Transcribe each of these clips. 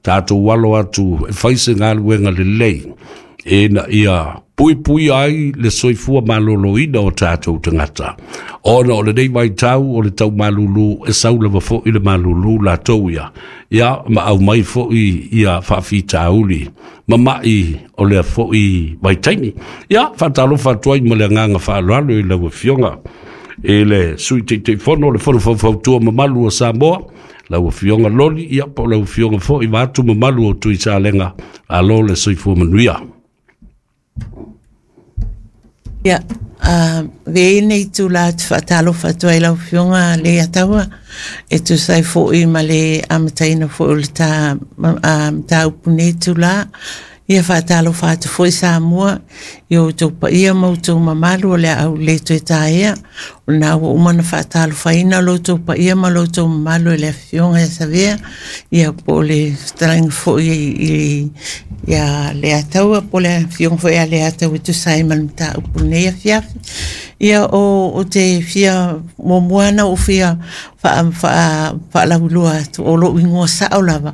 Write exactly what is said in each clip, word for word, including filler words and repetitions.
Tatou alo atu e fai se galuega lelei ina ia puipuia ai le soifua maloloina o tatou tagata, ona o lenei vaitau o le taumalulu, e sau lava foi le malulu latou ia, ia ma aumai foi ia faafitauli mama'i o lea foi vaitaimi. Ia faatalofa atu ai ma le agaga faaaloalo i lau Afioga i le Sui Taitaifono o le Fono Faufautua mamalu o Samoa, lau Afioga Loli, ia po o lau Afioga foi vaatu mamalu o Tuisalega. Alo le soifua manuia. Ia, uh, vei nei tula te whaatalofa atu ai lau Afioga Leiataua, e tusa ai foi ma le amataina foi o le ta, uh, mataupu nei tula. Ia whaatalofa atu foi Samoa, i o outou paia ma outou mamalu o le au le toe taea. O na ua uma na whaatalofaina lo outou paia ma lo outou mamalu e le Afioga ia Savea, ia po o le fetalaiga foi i, i ia Leiataua, po o le Afioga foi ia Leiataua e tusa ai ma le mataupu nei afiafi. Ia o, o te fia muamua na o fia whaalauilua atu o lou ingoa sao lava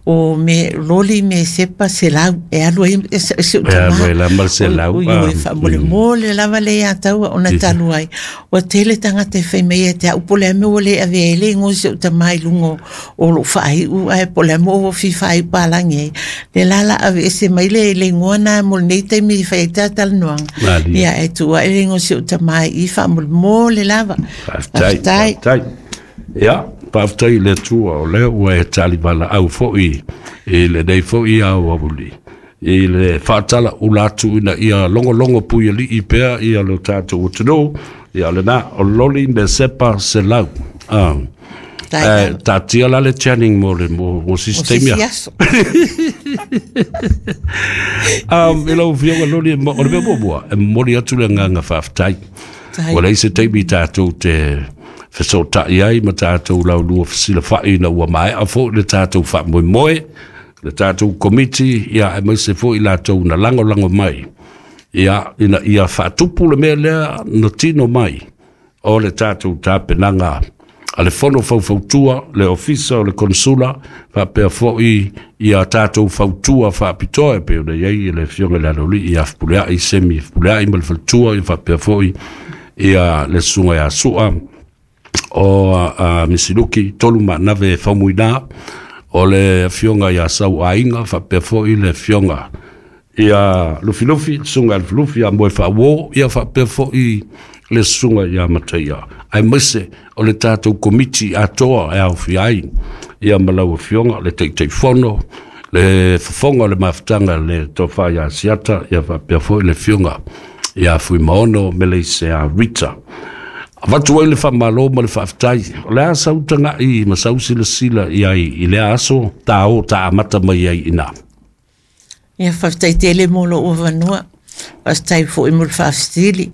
o me Loli me Sepa Selau e alu ai e se se E alu ai la ma le Selau, o ah, i faamolemole lava le Ataua ona talu ai ua tele tagata e fai mai ia te au po o le a mea ua le avea ai le igoa o si ou tama i luga o lou faaiu, ae po o le a mea ua fia faaiu palagi ai le la la aveese mai le le igoa na mo lenei taimi i fai ai talatalanoaga. Malie. Ia e tuu ai le igoa o si ou tama i faamolemole lava. Faafetai. Faafetai. Faafetai. Ia, faafetai i le Atua o lea ua e talivalaau foi i lenei foi aoauli i le faatala ula atu ina ia logologo puialii pea ia lo tatou atunuu. Ia o lena o Loli Mesepa Selau. Ah. Tai Eh, lava. taatia la le Channing mo le mo, mo O sisi se taimi isi a. aso. Um, i lau Afioga Loli, mo- o le mea muamua, e momoli atu le agaga faafetai. Tai. Ua leai se taimi tatou te fesootai ai ma tatou laulua fesilafai ina ua maea foi le tatou faamoemoe, le tatou komiti, ia aemaise foi latou na lagolago mai, ia ina ia faatupu le mea lea na tino mai o le tatou tapenaga a le Fono Faufautua, le Ofisa o le Konsula, faapea foi ia tatou fautua faapitoa e pei ona i ai le Afioga i le Aloalii ia Fepuleai, Semi Fepuleai ma le faletua, ia faapea foi ia le Susuga ia Sua o uh, Misiluki, tolu maanave faumuina, o le Afioga ia Sau Aiga, faapea foi le Afioga ia Lufilufi, le Susuga ia Lufilufi ia Moe Faauo, ia faapea foi le Susuga ia Mataia, aemaise o le tatou komiti atoa e aofia ai ia ma lau Afioga le Taitaifono, le fofoga o le mafutaga le Tofa ia Siata, ia faapea foi le Afioga ia Fuimaono Meleisea Rita. Avatu ai le faamalo ma le faafetai. O le a sau taga'i ma sau silasila i ai i lea aso tāo ta amata mai ai ina. Ia faafetai tele mo lou avanoa. Faafetai foi mo le faafesili.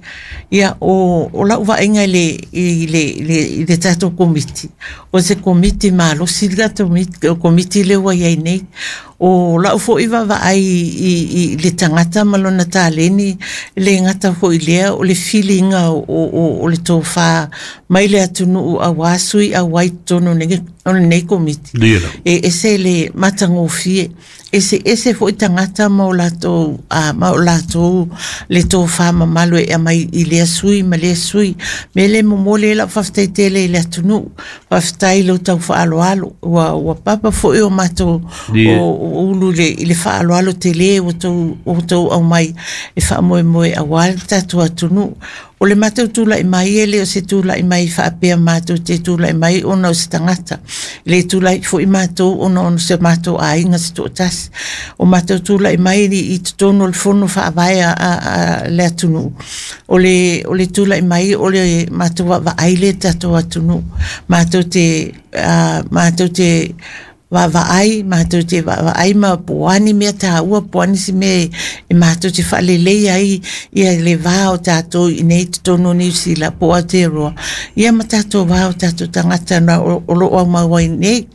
Ia o, o lau vaaiga i le, i le, i le, i le tatou komiti. O se komiti malosi le tatou komiti, komiti lea ua i ai nei. O lau foi vaavaai i, i, i le tagata ma lona taleni, e le gata foi lea o le filiga o, o, o le tofa mai le atunuu auā sui auai totonu o lenei o lenei komiti. Lia. E ese le matagofie, ese ese foi tagata ma o latou a ma o latou le tofa mamalu e aumai i lea sui ma lea sui. Me le momoli ai lau faafetai tele i le atunuu. Faafetai i lo tau faaaloalo. Ua ua papa foi o matou Lia. o, o ulu i le, i le faaaloalo tele ua tou, ua tou aumai e faamoemoe auā le tatou atunuu. O le matou tula'i mai e le o se tula'i mai faapea matou te tula'i mai ona o se tagata. E le tula'i foi matou ona o se matou aiga se toatasi. O matou tula'i mai i, i totonu o le fono faavae a, a, a le atunuu. O le, o le tula'i mai o le matou vaavaai le tatou atunuu. Matou te, uh, matou te vaavaai, matou te vaavaai ma po o a ni mea taua, po o a nisi mea e, E matou te faalelei ai ia le va o tatou i nei totonu o Niu Sila po o Aotearoa ia ma tatou va o tatou tagata na o, o loo aumau ai nei.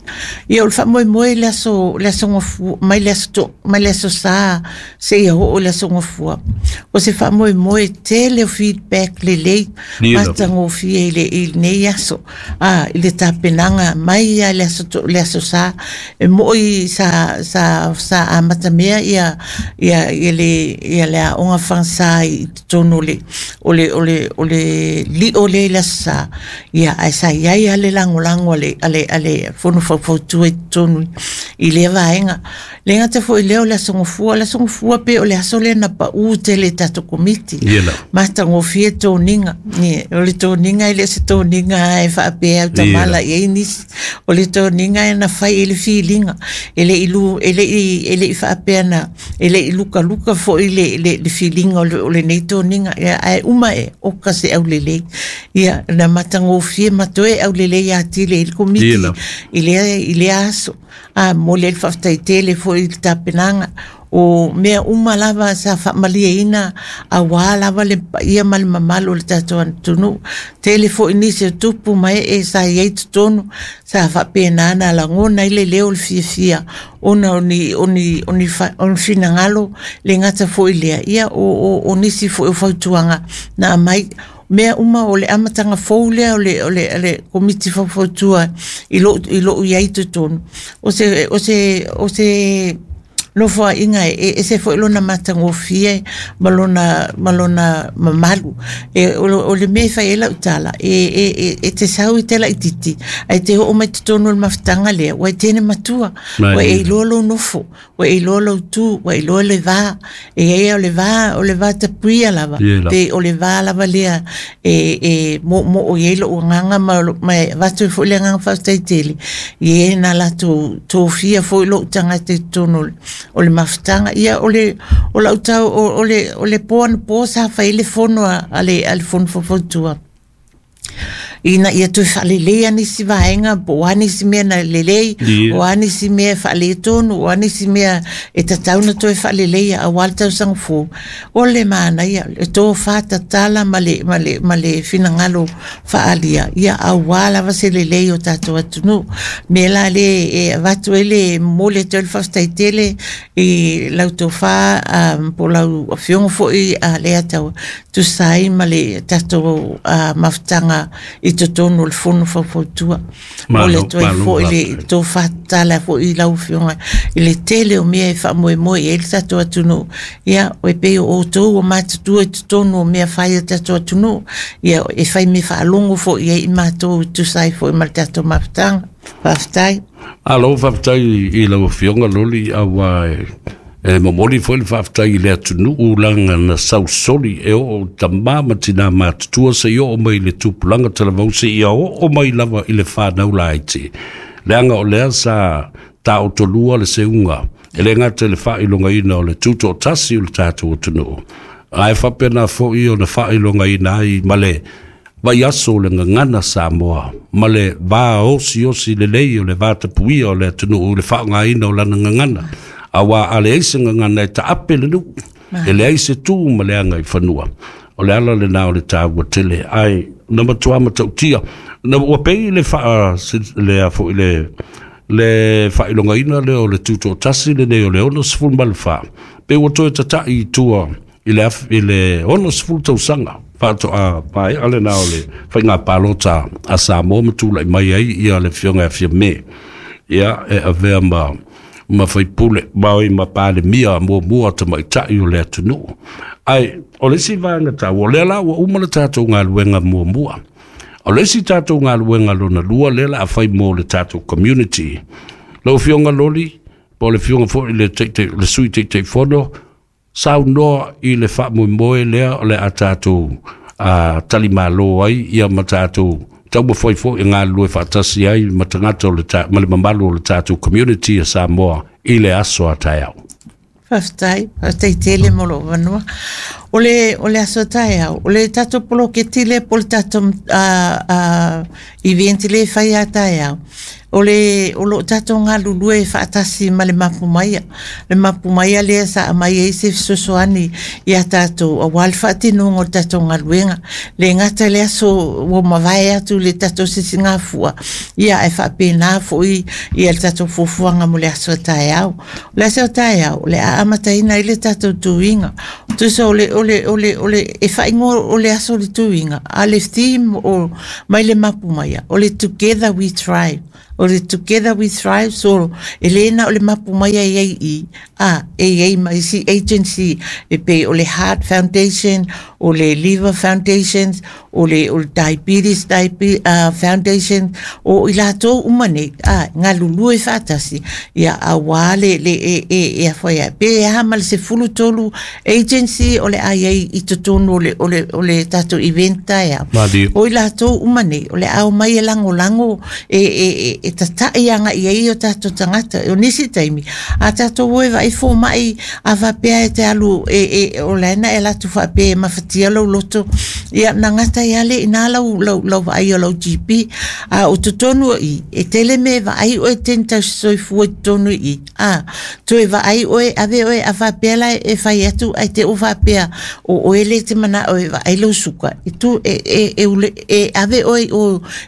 Ia o le faamoemoe i le aso le aso Gafua mai le aso to, mai le aso Sa seia oo i le aso Gafua. O se faamoemoe tele o feedback lelei matagofie i le i lenei aso a i le tapenaga mai ia le aso to, le aso Sa e moi sa sa sa amatamea ia ia ia le ia le aoga fagasa i totonu o le o le o le o le lio lea i le aso Sa ia ae sa iai lava le lagolago a le a le a le fono faufautua i totonu i lea vaega. Le gata foi lea o le aso Gafua, o le aso Gafua pe o le aso lea na pau tele i tatou komiti. Matagofie toniga. O le toniga e le o se toniga e faapea autamala i ai nisi. O le toniga e na fai i le filiga. E le i lu, e le i, e le i faapea na, e le i lukaluka foi le, le, le filiga o le, o lenei toniga. Ia, ae uma e, oka se aulelei. Ia, na matagofie ma toe aulelei atili i le komiti i lea, i lea aso. A momoli ai le faafetai tele foi i le tapenaga o mea uma lava sa faamalieina auā lava le paia ma le mamalu o le tatou atunuu. Tele foi nisi o tupu ma ee sa iai totonu sa faapena na lagona ai le leo o le fiafia ona o ni o ni o ni o ni finagalo le gata foi lea ia o o o nisi foi o fautuaga na aumai mea uma o le amataga fou lea o le o le o le komiti faufautua i lou i lou iai totonu o se o se o se nofoaiga e ese foi lona matagofie ma lona ma lona mamalu. E o, o le mea e fai ai lau tala e, e, e, e te sau i te laititi ae te oo mai totonu o le mafutaga lea ua e tene matua ua e iloa lou nofo ua e iloa lou tu ua e iloa le va e ai o le va o le va tapuia lava pe o le va lava lea e e moomoo i ai lou agaga ma, ma e avatu ai foi le agaga faafetai tele i e na latou tofia foi lou tagata i totonu o le mafutaga. Ia o le o lau tau o, o le o le po anapo sa fai ai le fono a, a le a le fono faufautua ina ia toe faaleleia nisi vaega po o a nisi mea na lelei o a nisi mea e faaletonu o a nisi mea e tatau na toe faaleleia auā le tausaga fou. O le manaia le tofa tatala ma le ma le ma le finagalo faaalia ia auā lava se lelei o tatou atunuu. Mea la le e avatu ai le momoli atu ai le faafetai tele i lau tofa um, po o lau afioga foi a Leiataua tusa ai ma le tatou uh, mafutaga i totonu o le fono faufautua. Momoli atu ai foi le tofa tatala foi i lau afioga i le tele o mea e faamoemoe i ai le tatou atunuu. Ia e pei o outou ua matutua i totonu o mea fai a tatou atunuu ia e fai mea faalogo foi i ai i matou e tusa ai foi ma le tatou mafutaga. Faafetai. Malo faafetai i lau afioga Loli auā e e momoli foi le faafetai i le atunuu laga na sausoli e oo tamā ma tinā matutua seia oo mai i le tupulaga talavou seia oo mai lava i le fanau laiti leaga o lea sa taotolua le seuga e le gata i le faailogaina o le tutoatasi o le tatou atunuu ae faapena foi ona faailogaina ai ma le vaiaso o le gagana Samoa ma le va osiosi lelei o le vatapuia o le atunuu i le faaaogaina o lana gagana auā a leai se gagana e taape le nuu e leai se tu ma le agaifanua. O le ala lenā o le taua tele ae na matuā matautia na ua pei le faa le foi le le faailogaina lea o le tutoatasi lenei o le ono sefulu ma le fa pe ua toe tata'i i tua i le af, i le ono sefulu tausaga faatoa maea lenā o le faiga palota a Samoa ma tula'i mai ai ia le afioga ia Fiame ia e avea ma ma faipule ma oi ma palemia muamua tamaitai o le atunuu. Ae o le isi vaega taua o lea la ua uma le tatou galuega muamua. O le isi tatou galuega lona lua lea la a fai mo le tatou community. Lau afioga Loli po o le afioga foi le Taitai le Sui Taitaifono saunoa i le faamoemoe lea o le a tatou a talimalo ai ia ma tatou taumafai foi e galulue faatasi ai ma tagata o le ta, ma le mamalu o le tatou community a Samoa i le aso a taeao. Faafetai, faafetai tele mo lou avanoa. O le, o le aso a taeao, o le tatou poloketi lea po o le tatou uh, uh, event lea e fai a taeao, O le o lo tatou galulue faatasi ma le mapu maia. Le mapu maia lea sa aumai ai se fesoasoani ia tatou auā le faatinoga o le tatou galuega. Le gata i le aso ua mavae atu le tatou sisigafua, ia ae faapena foi ia le tatou fuafuaga mo le aso a taeao. O le aso a taeao, o le a amataina ai le tatou tuiga. Tusa o le, o le, o le, o le, e faaigoa o le aso o le tuiga, a le theme o mai le mapu maia, o le Together We Thrive. O le Together We Thrive, so e le na o le mapu maia e ai i, a, e ai ma isi agency, e pei o le Heart Foundation, o le Liver Foundation, o le, o le Diabetes Diabe, uh, Foundation, o i latou uma nei, a, galulue faatasi, ia auā le, le, e, e, e afai ai. Pe aha ma le sefulu tolu agency o le a i ai i totonu o le, o le, o le tatou event taeao. Malie. O i latou uma nei, o le a omai e lagolago e, e, e, e tata'i aga'i ai o tatou tagata. O nisi taimi, a tatou o e vaai foma'i a faapea e te alu e, e, o la e na e alu atu faapea e mafatia lou loto, ia na gata ai lava lea iná lau, lau, lau vaai o lau G P. A o totonu o i, e tele mea e vaai oe teni tausisoifua i totonu i i. A, toe vaai oe, ave oe a faapea la e fai atu ae te u faapea o oe le te mana'o e vaai lou suka. E tu, e, e, e, ule, e ave oe o,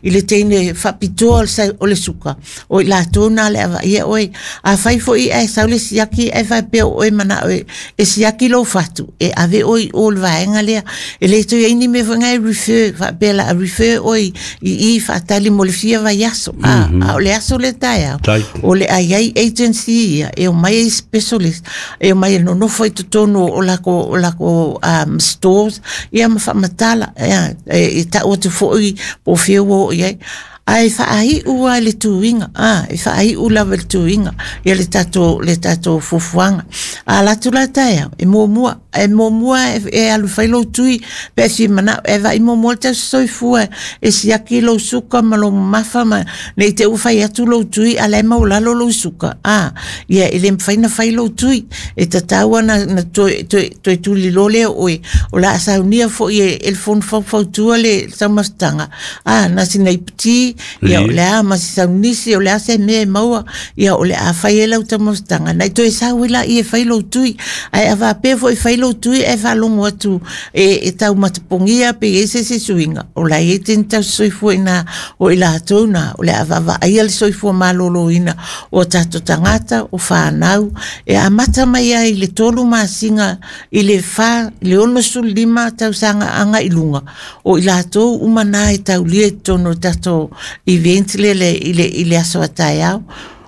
i le teine faapitoa o le sa- o le suka. O i latou na le avaia oe. A fai foi ae sau le siaki ae faapea o oe mana'o e, e siaki lou fatu. E ave oe i o le vaega lea. E le toe ai ni mea foi ngai refer, faapea la a refer oe i i faatali mo le fia vaiaso. A, a o le aso le taeao. Tai. O le a i ai agency ia, e omai ai specialist, e omai e nonofo i totonu o lako, o lako um, stores, ia ma faamatala, ia, e, e ta'u atu foi po o fia ua oo i ai. Ae faai'u a le tuiga, a, e faai'u lava i le tuiga, ia le tatou, le tatou fuafuaga. A alu atu la taeao, e muamua, e muamua e, e alu fai lou tui, pe e fia mana'o, e vaai muamua le tausisoifua, e siaki lou suka ma lou mamafa ma, nei te ua fai atu lou tui, a la e maualalo lou suka. A, ia e le mafai ona fai lou tui, e tatau ona na toe, toe, toe tuliloa lea o oe, o le a saunia foi e, e le fono faufautua le taumafataga. A, na sina iputi, ia o le a ma se saunisi, o le a se mea e maua, ia o le a fai ai lau taumafataga. Na i toe sau ai laia e fai lou tui, ae a faapea foi e fai lou tui ae faalogo atu e, e taumatapogia pe i ai se isi suiga, o la e i ai teine tausisoifua iná, o i latou na, o le a vaavaaia le soifua malōlōina o a tatou tagata, o fanau, e amata mai ai i le tolu masina i le fa, i le onosefulu lima tausaga aga'i luga, o i latou uma na e taulia i totonu o le tatou event lea le, i le, i le aso a taeao.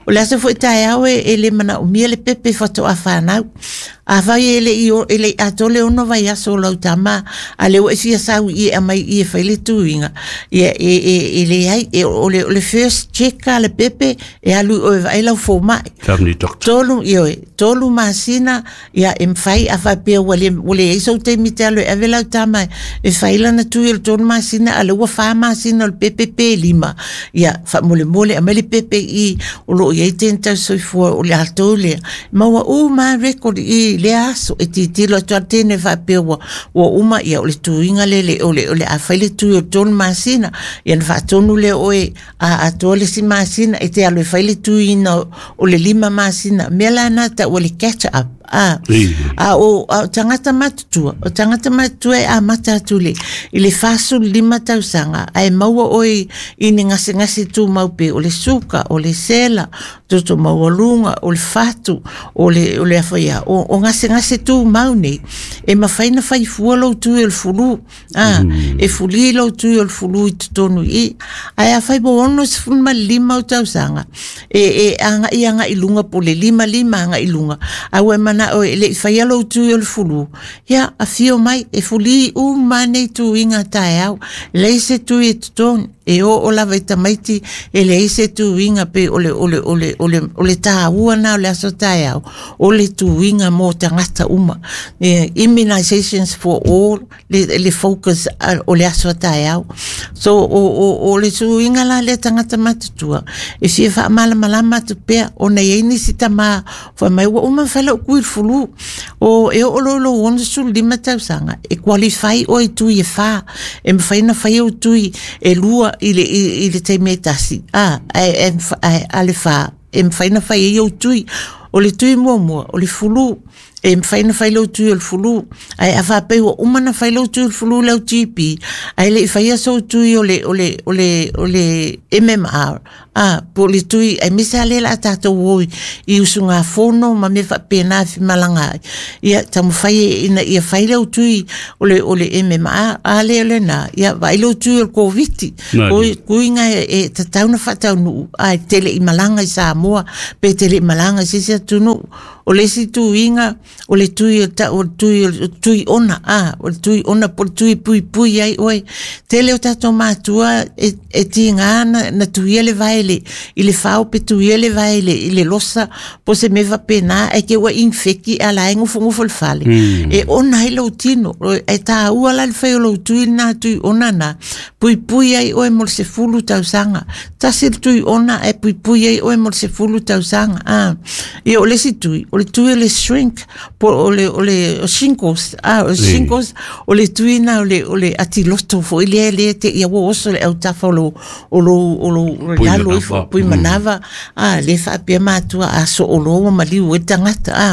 O le aso foi taeao e, e le manaomia le pepe faatoa fanau. Afai e le i, e le i atoa le ono vaiaso o lau tama, a le ua e fia sau i e aumai i e fai le tuiga, ia e, e, e leai, e, o le, o le first check a le pepe, e alu i oe e vaai lau foma'i. Family doctor. Tolu, ioe, tolu masina, ia e mafai a faapea ua le, ua leai sou taimi te alu e ave lau tama e fai lana tui o le tolu masina, a le ua fa masina o le pepe pe lima. Ia, faamolemole, aumai le pepe i o loo i ai teine tausisoifua o le latou lea. Maua uma record i lea aso, e tilotilo atu a le teine faapea ua, ua uma, ia o le tuiga le, le, o le, o le a fai le tui o le tolu masina, ia na faatonu lea oe a atoa le isi masina, e te alu e fai le tuiina o le lima masina. Mea la na ta'u o le catch up. A, a o, a o tagata matutua, o tagata matutua e amata atu le, i le fasefulu lima tausaga, ae maua oe i ni gasegase tumau pea, o le suka, o le sela, toto maualuga, o le fatu, o le, o le afaia, o, o gasegase tumau nei, e mafai ona fai fua lou tui o le flu, a, mm. e fulī lou tui o le flu i totonu i i, ae afai po onosefulu ma le lima ou tausaga, e, e aga'i aga'i luga po o le lima lima aga'i luga, a ua e mana'o e le'i faia lou tui o le flu, ia afio mai, e fulī uma nei tuiga taeao, leai se tui e totogi, e oo lava i tamaiti, e leai se tuiga pe o le, o le, o le, o le, o le tāua na o le aso taeao, o le tuiga mo tagata uma. E, immunizations for all, le, le focus o le aso taeao. So, o, o, o le tuiga la lea tagata matutua, e fia faamalamalama atu pea, ona e i ai nisi tamā, fai mai ua uma ona fai la'u tui i le flu. O e oo loa i lou onosefulu lima tausaga, e qualify oe i tui e fā, e mafai ona fai ou tui e lua i le i le taimi e tasi a e a le fā e mafai ona fai ai ou tui. O le tui muamua o le fulu, e mafai ona fai lau tui o le fulu, ae a faapea ua uma ona fai lau tui o le fulu lau G P, ae le i faia sou tui o le o le o le o le M M R a po o le tui, aemaise lava lea o le a tatou o i usugafono ma mea faapena e femalagaai ai. Ia taumafai ina ia fai lau tui o le o le M M R, a lea o lena, ia vaai lau tui o le Koviti, kuiga e tatau ona faataunuu, ae tele i malaga i Samoa pe tele i malaga i se isi atunuu. O le isi tuiga o le tui o le tui o le tui ona a o le tui ona po o le tui puipui ai oe. Tele o tatou matua e, e tiga na, na tuia le vae i le fao pe tuia le vae i le losa po se mea faapena, ae ke ua infeki a la e gufogufo le fale. Mm. E ona ai lou tino, e tāua la le fai o lou tui na tui ona na puipui ai oe mo le sefulu tausaga. Tasi le tui ona e puipui ai oe mo le sefulu tausaga. A ia o le isi tui, o le tui o le shrink po o le o le shingles, a o shingles o le tui na o le o le atiloto foi lea lea te ia ua oso le autafa o lo o lo o lo lalo ifo pui manava a le faapea matua a sooloa ua maliu ai le tagata a.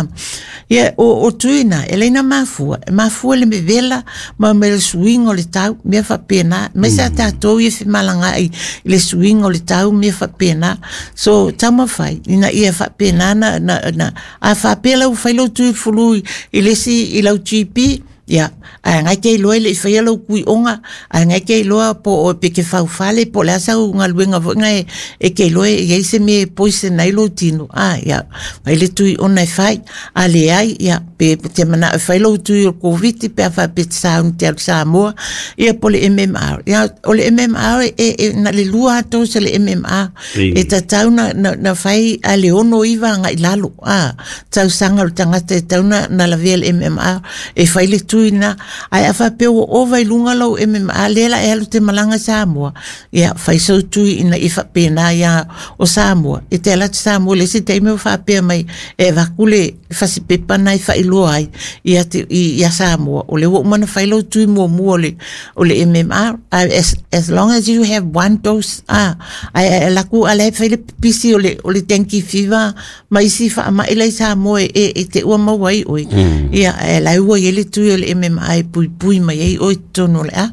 Ia o o tui na e leina mafua, e mafua le mevela ma me le suiga o le tau mea faapena, aemaise a tatou ia femalagaai i le suiga o le tau mea faapena. So taumafai ina ia faapena na na na a faapea lau fai lau tui fulu i le isi i lau G P, ia ae agai ke iloa i le i faia lau kui'oga, ae agai ke iloa po o pe ke faufale po o le a sau galuega fo'iga e, e ke iloa e iai se mea e poison ai lou tino a ia fai le tui ona e fai. A leai ia pe te mana'o e fai lou tui o le Koviti pe a faapea te sauni te alu Samoa ia po le M M R. Ia o le M M R e, e na le lua dose le M M R e tatau na, na, na fai a le ono iva aga'i lalo a tausaga o le tagata e tau na, na lavea le M M R e fai le tui na, ae a faapea ua ova i luga lau M M R lea la e alu te malaga Samoa, ia fai sou tui ina ia faapena ia o Samoa e te ala atu Samoa le isi taimi ua faapea mai e avaku le fasipepa na e faailoa ai ia te, ia Samoa o le ua uma na fai lau tui muamua o le, o le M M R. As, as long as you have one dose ah, ae ae laku ala e fai le pipisi o le, o le dengue fever ma isi faama'i lai Samoa e, e te ua maua ai oe. Mm. Ia e lai ua i ai le tui o le M M R e puipui mai ai oe totonu o le a.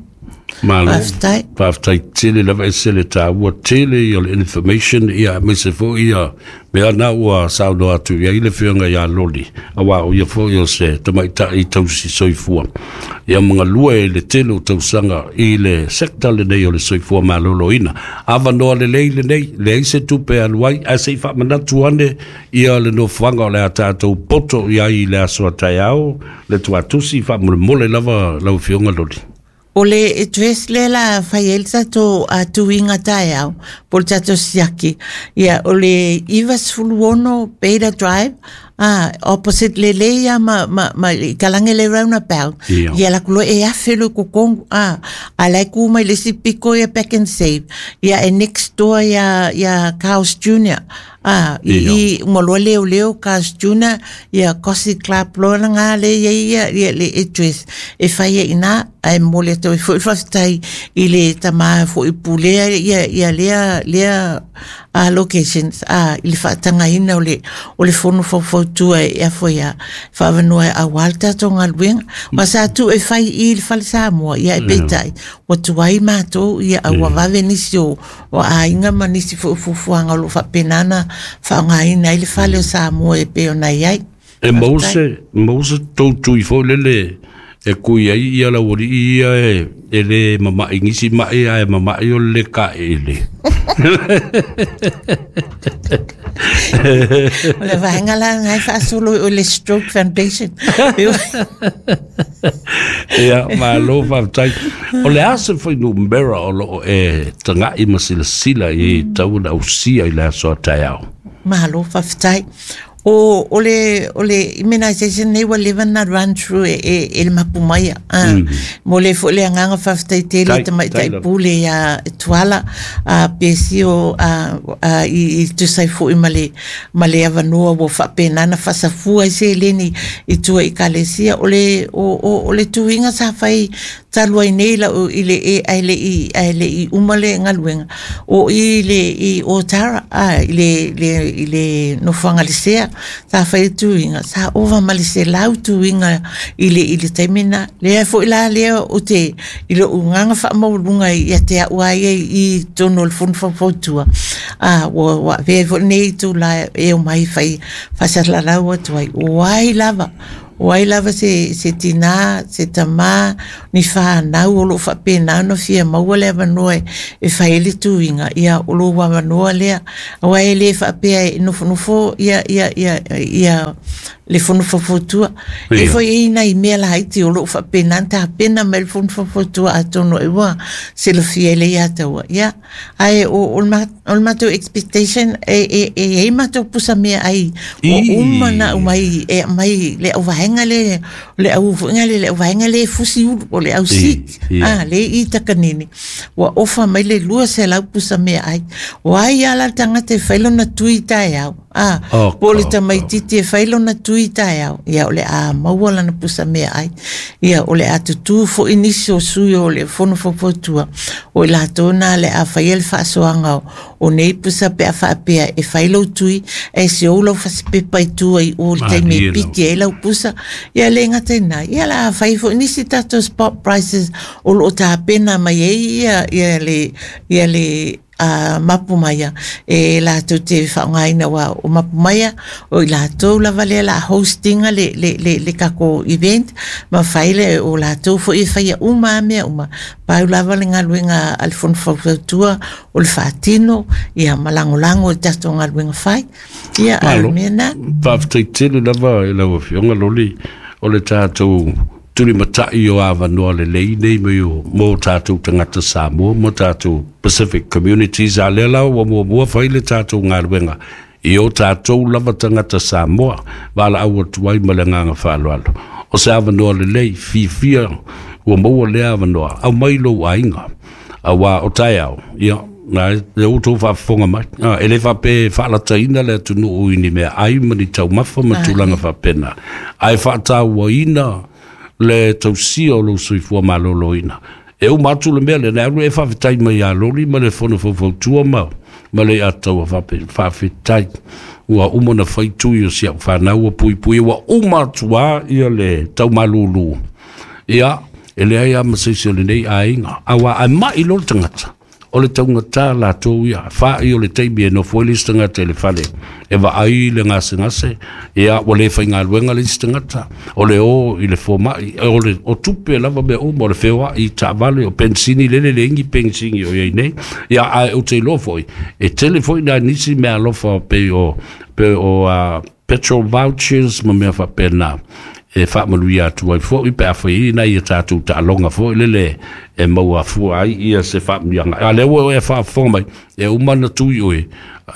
Malo, faafetai tele lava e se le tāua tele ia le information ia aemaise fo'i ia mea na ua saunoa atu i ai le Afioga iā Loli, auā o ia fo'i o se tamaita'i tausi soifua ia magalua e le tele o tausaga i le sector lenei o le soifua malōlōina. Avanoa lelei lenei, leai se tupe e alu ai, ae se'i faamanatu ane ia le nofoaga o le a tatou poto i ai i le aso a taeao le tuatusi faamolemole lava lau Afioga Loli. O le address le la fai ai le tatou a tuiga taeao po le tatou siaki, ia o le iva sefulu ono Beta Drive a opposite le lei ia ma ma ma i kalage le roundabout. Ia. Ia laku loa e afe le kokogu a a la e ku mai le isi piko ia Back and Save ia e next door ia ia Carl's Junior a i Ia. i uma loa leoleo Carl's Junior ia Cosi Club loa lagā le ia ia ia le address e fai ai ina ae momoli atu ai fo'i le faafetai i le tamā fo'i pulea ia ia lea lea a locations a i le faatagaina o le o le fono faufautua e afo ia faavanoa e auā le tatou galuega ma sa tuu e fai i le fale Samoa ia e peitai ua tuai matou ia a ua vave nisi o o aiga ma nisi fo'i fuafuaga o loo faapena na faaaogāina ai le fale o Samoa e pei ona iai. E maua Faafetai. se maua se tou tui foi lele e kui ai ia lau ali'i ia e e lē mama'i gisi ma'i ae mama'i o le lē ka'e'ele. O le vaega la lagae faasolo o le Stroke Foundation. Ia malo faafetai. O le a se fuainumera o loo e taga'i ma silasila i tau ona ausia i le aso a taeao? Malo faafetai. O o le o le immunization nei ua leva na run through e e, e le mapu mai a mm. Mo le fo le agaga faafetai tele tamaitai pule ia Tuala a pesio a a i, i tusai foi ma le ma le avanoa ua faapena na faasafua ai seleni i tua i kalesia o le o, o, o le tuiga sa fai talu ai nei lau i le e ai le i ai le i uma le galuega o i le i Otara a i le le i le nofoaga le sea sa fai tuiga sa ova ma le selau tuiga i le i le taimi na lea foi la lea o te i le ugaga faamaualuga ia te a'u ai i tonu o le fono faufautua a ua ua avea foi lenei itulā e omai fai faasalalau atu ai o ai lava o ai lava se se tinā se tamā ni whānau o lo whapena no fia maua le avanoa e fai le tuiga ia o lo avanoa lea aua e le faapea e nofonofo ia ia ia ia le fono faufautua e foi e ina i mea laiti o loo faapena na tapena mai le fono faufautua atonu e ua silafia e le ia taua ia ae o o le matou expectation e e e i ai matou pusa mea ai ua uma na aumai e aumai le auvaega le le au foiga le le auvaega le fusi ulu o le au sik a le i takanini ua ofa mai le lua selau pusa mea ai o ai ala le tagata e fai lona tui taeao a po o le tamaititi e fai lona tui taeao ia o le a maua lana pusa mea ai ia o le a tutū fo'i nisi o sui o le fono faufautua o i latou na le a faia le faasoaga o nei pusa pe a faapea e fai lou tui e se ou lau fasipepa i tua i o le taimi e piki ai lau pusa ia le gata ina ia la a fai fo'i nisi tatou spot prices o loo tapena mai ai ia ia le ia le a mapu maia e latou te faaaogaina ua o mapu maia o i latou lava lea la hostinga le le le le takou event ma fai le o latou foi e faia uma a mea uma pau lava le galuega a le fono faufautua o le faatino ia ma lagolago i le tatou galuega fai ia a le mea na faafetai tele lava i lau afioga Loli o le tatou tulimatai o avanoa lelei nei mai o mo tatou tagata Samoa mo tatou Pacific communities a lea la ua muamua fai le tatou galuega i o tatou lava tagata Samoa valaau atu ai ma le agaga faaaloalo o se avanoa lelei fiafia ua maua lea avanoa aumai lou aiga auā o taeao ia na le outou faafofoga mai e le faapea e faalataina le atunuu i ni mea ai ma ni taumafa ma tulaga faapena ae faatauaina le tausia o lou soifua malōlōina e uma atu le mea lea alu e faafetai mai iā Loli ma le fono faufautua ma ma le ataua faafetai ua uma na fai tui o si au whanau pui pui ua uma atu a ia le taumalūlū ia e leai a ma seisi o lenei aiga auā ae mai lo le tagata o le taugata latou ia fa'i o le taimi e nofo ai le isi tagata i le fale e vaai le gasegase ia ua lē faigaluega le isi tagata o le o i le foma'i o le o tupe lava mea uma o le feoa'i taavale o pensini lele leigi pensini o iai nei ia ae ou te iloa fo'i e tele fo'i nai nisi mea alofa pei o pei o uh, petrol vouchers ma mea faapena e faamanuia atu ai fo'i pe a fai ai nai ia tatou taaloga fo'i lele e maua fua ai ia se faamanuiaga a lea ua e faafofoga mai e uma na tui oe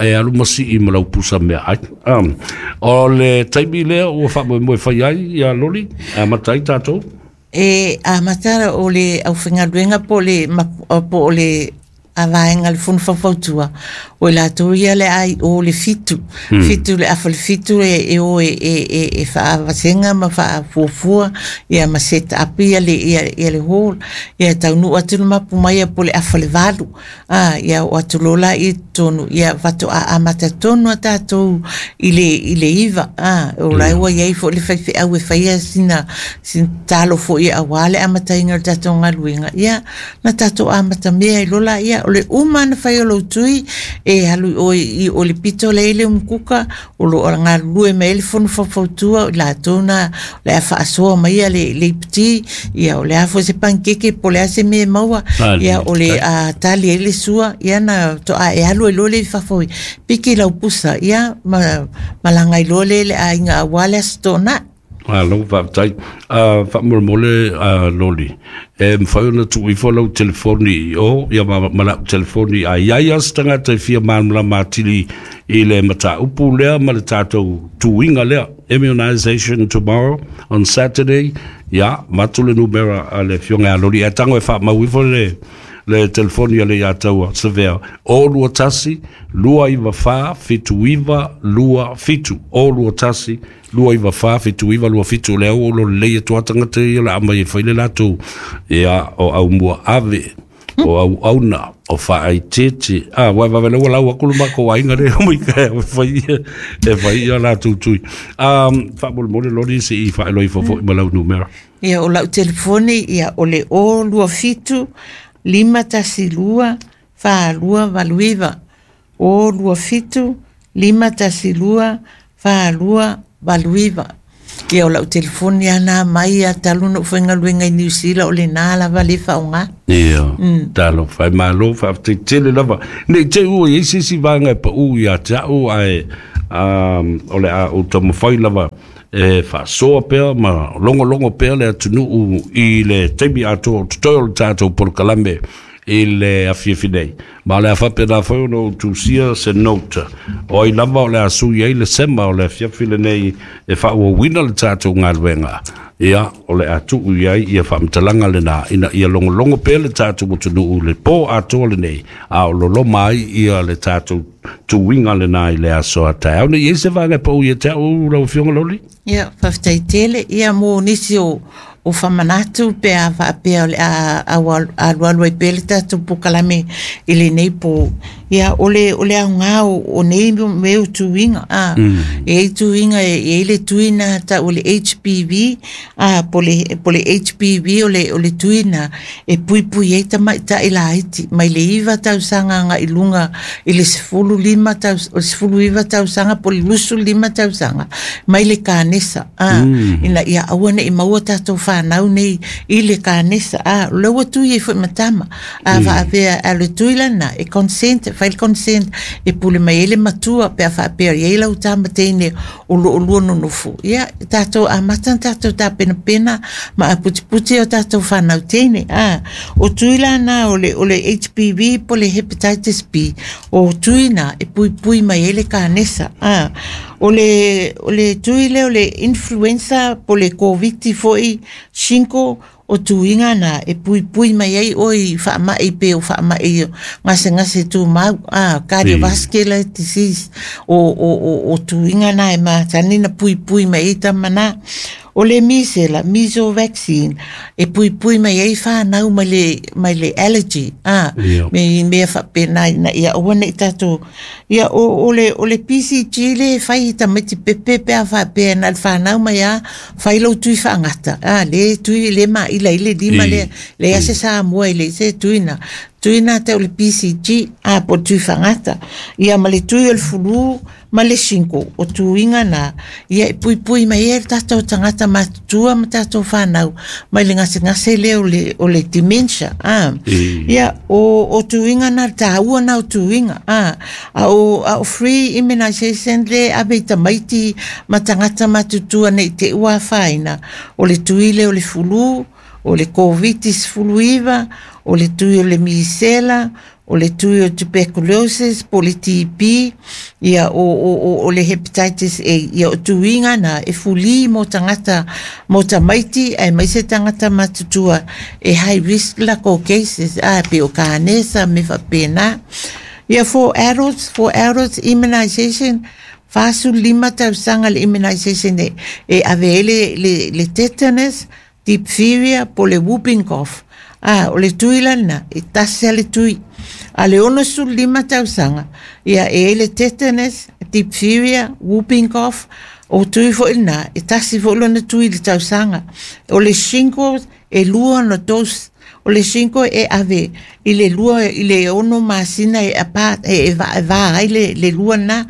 e alu ma sii ma lau pusa mea ai um, o le taimi lea ua faamoemoe fai ai ia Loli amata ai tatou e amata o le aufaigaluega po o le po o le a vaega le fono faufautua o i latou ia le ai o le fitu mm. fitu le afa le fitu e, e o e, e, e, e faavasega ma faafuafua ia ma set up ia le, ia, ia le hall ia taunuu atu le mapu mai ia po le afa le valu a ia o atu lola i tonu ia faatoa amata tonu a tatou i le, i le iva a o la ua iai fo'i le faifeau e faia sina sina talo fo'i auā le amataina o le tatou galuega ia na tatou amata mea ai lola ia o le uma na fai o lou tui e alu i oe i o le pito le le umukuka o lo o galulue mai ai le fono faufautua o i latou na o le a faasoa mai ia le le iputi ia o le a foi se panikeke po o le a se mea e maua ia o le a tali ai le sua ia na toa e alu ai loa le i fafo i piki lau pusa ia ma malaga ai loa le le aiga auā le aso toonai. Malo faafetai. Faamolemole Loli, e mafai ona tuu ifo lau telefoni i o ia ma, ma lau telefoni, a iai a se tagata e fia malamalama atili i le mataupu lea ma le tatou tuiga lea, immunization tomorrow on Saturday, ia matu le numera a le afioga ia Loli, e tago e faamau ifo le le telefoni a le Leiataua Savea, o lua tasi, lua iwa wha, fitu iwa, lua fitu. O lua tasi, lua iwa wha, fitu iwa, lua fitu. Le au o lo leia tua tangata ia la ama i whaile lātou. Ia o au mua ave, o au auna, o whaai tete. Ah, wai wawe lewa lau akulu mako ainga le o ka e whai e whai ia lātou tui. Um, Faamolemole Loli se i whaeloi fofo i malau numera. Ia o lau telefoni, ia o le o lua fitu, lima tasi lua, wha lua valuiva. O lua fitu, lima tasi lua, wha lua valuiva. Ia o lau telefoni ana mai a taluna uwhenga luenga i New Zealand o le nā lava le whaonga. Ia, talo whai malo whaafte tele lava. Nei te ua i sisi vanga e pa u ia te au ai um, o le a o tamawhai lava e whaasoa pea ma longo longo pea le atunuu i le taimi atoa o totoe o le tātou polokalame i le afiafi nei. Ma le afape nā whai ono o tusia se note. O ai lava o le asui ai le sema o le afiafi le nei e whaauawina le tātou ngāluenga. Ia, o le atu i ai ia whaamtalanga le nā. Ina ia longo longo pea le tātou atunuu le pō atoa le nei. A o lolo mai ia le tātou tuinga le nā i le aso a tae. Au nei e se vanga pau ia te au lau fionga loli? Ia, whawhtai tele. Ia mō nisi o o whamanatu pe a whaapea o le a alualu ai pele tātou pokalame i le nei pō. Ia, o le, o le au ngā o, o nei meo tuinga. A, mm. E ei tuinga, e, e le tuina ta o le H P V, a, po le, po le H P V o le, o le tuina, e pui pui ei tama i ta ila aiti. Mai le iwa tausanga nga i lunga, i le sefulu lima taus, o le sefulu iwa tausanga, po le lusu lima tausanga, mai le kanesa. A, mm. Ina ia aua ne i maua tātou whanau nei i le kanesa. A, leua tui e fui matama. A, mm. Whaapea, a le tui lana, e consent, whail consent, e pule mai ele matua, pe a whaapea, i eila utama teine o lo o lua nonofu. Ia, tātou a matan tātou tā pena pena, ma a puti puti o tātou whanau teine. A, o tui lana o le, o le H P V, po le hepatitis B, o tui na, e pui pui mai ele kanesa. A, o le, o le tui le, o le influenza, po le COVID foi, cinco, o tuinga na e pui pui mai ai oi whaamai pe o whaamai ngase ngase tu mau a cardiovascular disease o o o o tuinga na e matani na pui pui mai tamana o le misela miso vaccine e pui pui mai ai whanau mai le mai le allergy a yeah. Me me whape na na ia o nei tatou ia o o le o le P C G le whai tamati pepe pe a whape na whanau mai a whai lau tui whaangata a le tui le ma ila ile lima le le ase sa mua ile se tuina tuina te o le P C G a po tui whaangata ia ma le tui o le fulu ma le cinco o tuinga na ia e pui pui mai e tātou tangata matutua ma tātou whanau mai le ngase ngase le o le, o le dementia a ia o, o tuinga na tāua na o tuinga a, a o, a o free immunization le abe tamaiti ma tangata matutua nei te ua whaina o le tui le o le fulu o le COVID sefulu iva o le tui o le misela o le tui o tuberculosis, po le T B, ia o, o, o, o le hepatitis A, ia o tuinga na e fuli mo tangata, mo tamaiti, ai mai se tangata matutua, e high risk la ko cases, a pe o kanesa me whapena. Ia for adults, for adults immunization, whasu lima tausanga le immunization e, e ave ele le, le tetanus, diphtheria, po le whooping cough. Ah, o le tui lana, e tasi a le tui. A le ono sul lima tausanga, ia e le tetanus, diphtheria, whooping cough, o tui fo ina, e tasi fo lona tui le tausanga. O le shingles, e lua no dose, o le shinko e ave, i le lua, i le ono masina e apa, e, e va, e va ai le, le lua na,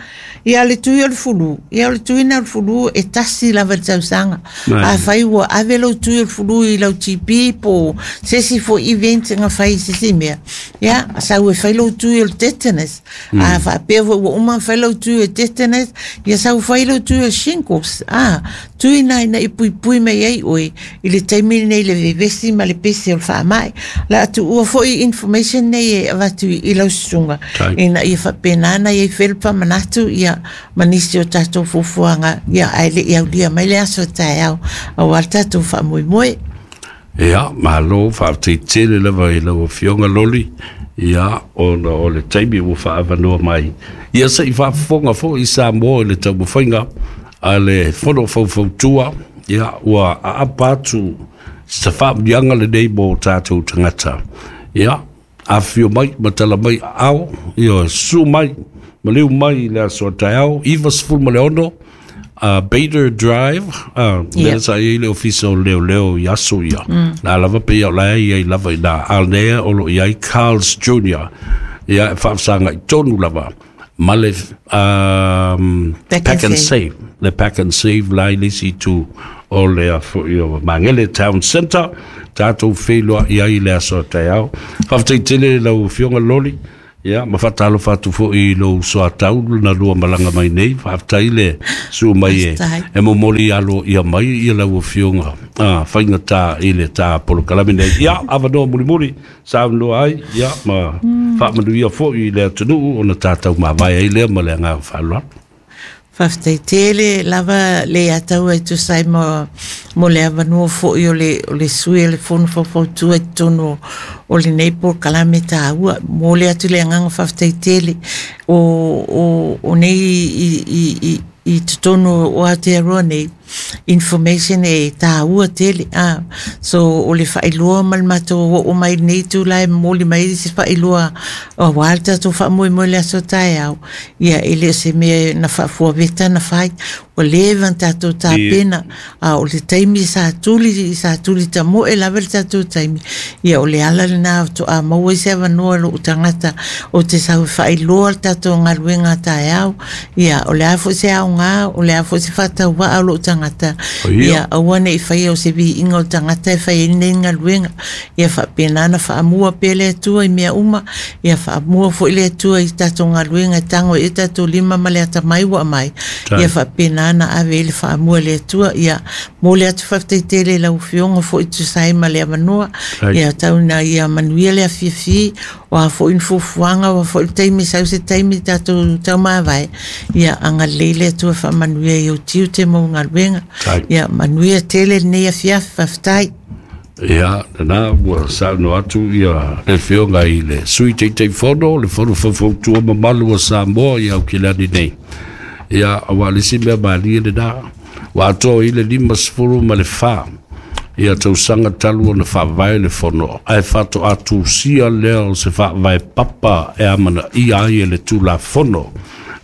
Ia le tui o le fulu, ia o le tuina o le fulu e tasi lava le tausaga. Afai ua ave lou tui o le fulu i lau G P po se isi foi event na fai i se isi mea, ia sau e fai lou tui o le tetanus. A faapea foi ua uma ona fai lau tui o le tetanus, ia sau fai lau tui o shingles. A tui na ina i puipui mai ai oe i le taimi lenei le vevesi ma le pese o le faamai. La atu ua foi information nei e avatu i lau susuga ina ia faapena ia i fele manatu ia manisi o tatou fuafuaga ia ae le i aulia mai le aso taeao aua le tatou faamoemoe. Ia, malo faafetai tele lava i lau Afioga Loli, ia ona o le taimi ua faaavanoa mai. Ia se i faafofoga foi i Samoa i le taumafaiga a le Fono Faufautua, ia ua aapa atu se faamuliaga lenei mo tatou tagata. Ia, afifio mai ma tala mai aao, ia susu mai ma liu mai i le aso a taeao, iva sefulu ma le ono, Uh, Bader Drive, uh, yeah. Sa i le ofisa o leo leo i aso ia. Mm. La lava pe ia la ia i lava i na alnea o lo iai Carl's Junior Ia e faafesagai i tonu lava. Ma le um, Pack, pack and and save. Le Pack and Save la i lisi tu o le afo i o Mangele Town Center. Tātou whenua i ai le aso taeao. Faafetai tele lau Afioga Loli. Ia, ma faatalofa atu foi i lou soatau na lua malaga mai nei. Faafetai le su mai e, e momoli alo ia mai ia lau Afioga ah, faigata i le tā polokalame nei. Ia, avanoa mulimuli, saunoa ai, ia, ma mm. faamanuia foi i le atunuu ona tātou mavae ai lea ma le agaga faaaloalo. Faafetai tele lava le ataua e tusa ai mo, mo le avanoa foi o le, o le sui o le Fono Faufautua i totonu o lenei polokalame tāua. Mo le atu le agaga faafetai tele o, o, o nei i, i, i, i totonu o Aotearoa nei information e tāua tele. Ah, so o le faailoa ma le matou oo mai nei tula e momoli mai se faailoa aua le tatou faamoemoe le aso taeao. Ia e le o se mea na faafuaveta na fai, ua leva ona tatou tapena. A o le taimi sa tuli sa tuli tamoe lava le tatou taimi, ia o le ala lena faatoa maua ai se avanoa lou tagata o te sau e faailoa le tatou galuega taeao. Ia o le a foi se aoga, o le a foi se faatauvaa o lou tagata, ia aua nei faia o se viiga o le tagata e fai ai lenei galuega. Ia faapena na faamua pea le Atua i mea uma, ia faamua foi le Atua i tatou galuega e tago ai tatou lima ma le atamai ua aumai. Ia faapena na ave ai le faamua le Atua. Ia mo le atu faafetai tele i lau Afioga foi tusa ai ma le avanoa. Ia tau ina ia manuia le afiafi, o a foi ni fuafuaga, o a foi le taimi sau se taimi tatou taumavae. Ia agalelei le Atua faamanuia i ou tiute ma ou galuega. Ia manuia tele lenei afiafi, faafetai. Ia, lena ua saunoa atu ia le Afioga i le Sui Taitaifono, le Fono Faufautua mamalu o Samoa i Aukilani nei. Ia, aua le isi mea malie lena, ua atoa i le lima sefulu ma le fa. Ia tausaga talu ona faavae le fono, ae faatoa tusia lea o se faavae papa e amanaia ai e le Tulafono.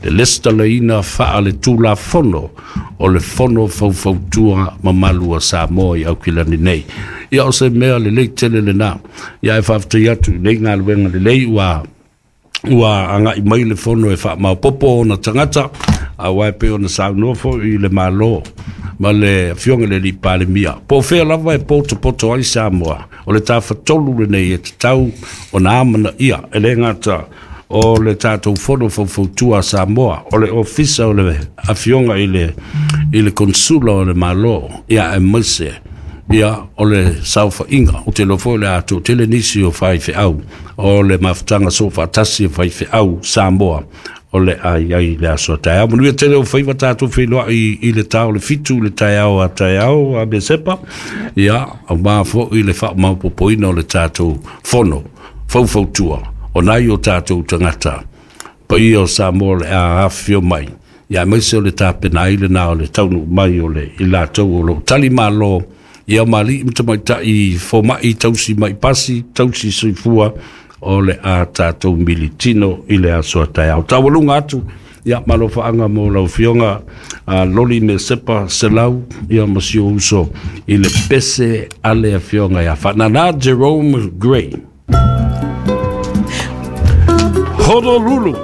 Le lesitalaina faa le Tulafono o le Fono Faufautua mamalu a Samoa i Aukilani nei. Ia o se mea lelei tele lena. Ia e faafetai atu i nei galuega lelei ua ua agai mai le fono e faamaopoopo ona tagata, aua e pei ona saunoa foi i le Malo ma le Afioga i le Alii Palemia. Po o fea lava e potopoto ai Samoa, o le tafatolu lenei e tatau ona amanaia e le gata o le tatou Fono Faufautua a Samoa, o le ofisa o le Afioga i le i le Konsula o le Malo, ia aemaise ia o le saofaiga o te iloa foi o le a toatele nisi o faifeau o le mafutaga soofaatasi o faifeau Samoa o le a i ai le aso a taeao. Manuia tele o faiva tatou feiloai i le ta o le fitu i le taeao a taeao a Mesepa, ia aua foi le faamaopoopoina o le tatou Fono Faufautua o nai o tatou tagata paia o Samoa o le a afifio mai. Ia aemaise o le tapena ai lena o le taunuu mai o le i latou o loo tali malo ia mali'i ma tamaitai foma'i tausi mai pasi tausi soifua o le a tatou militino i le aso a taeao. Taualuga atu ia malofaaga mo lau Afioga a Loli Mesepa Selau ia ma si ou uso i le pese a le Afioga ia Faanana Jerome Gray. Honolulu.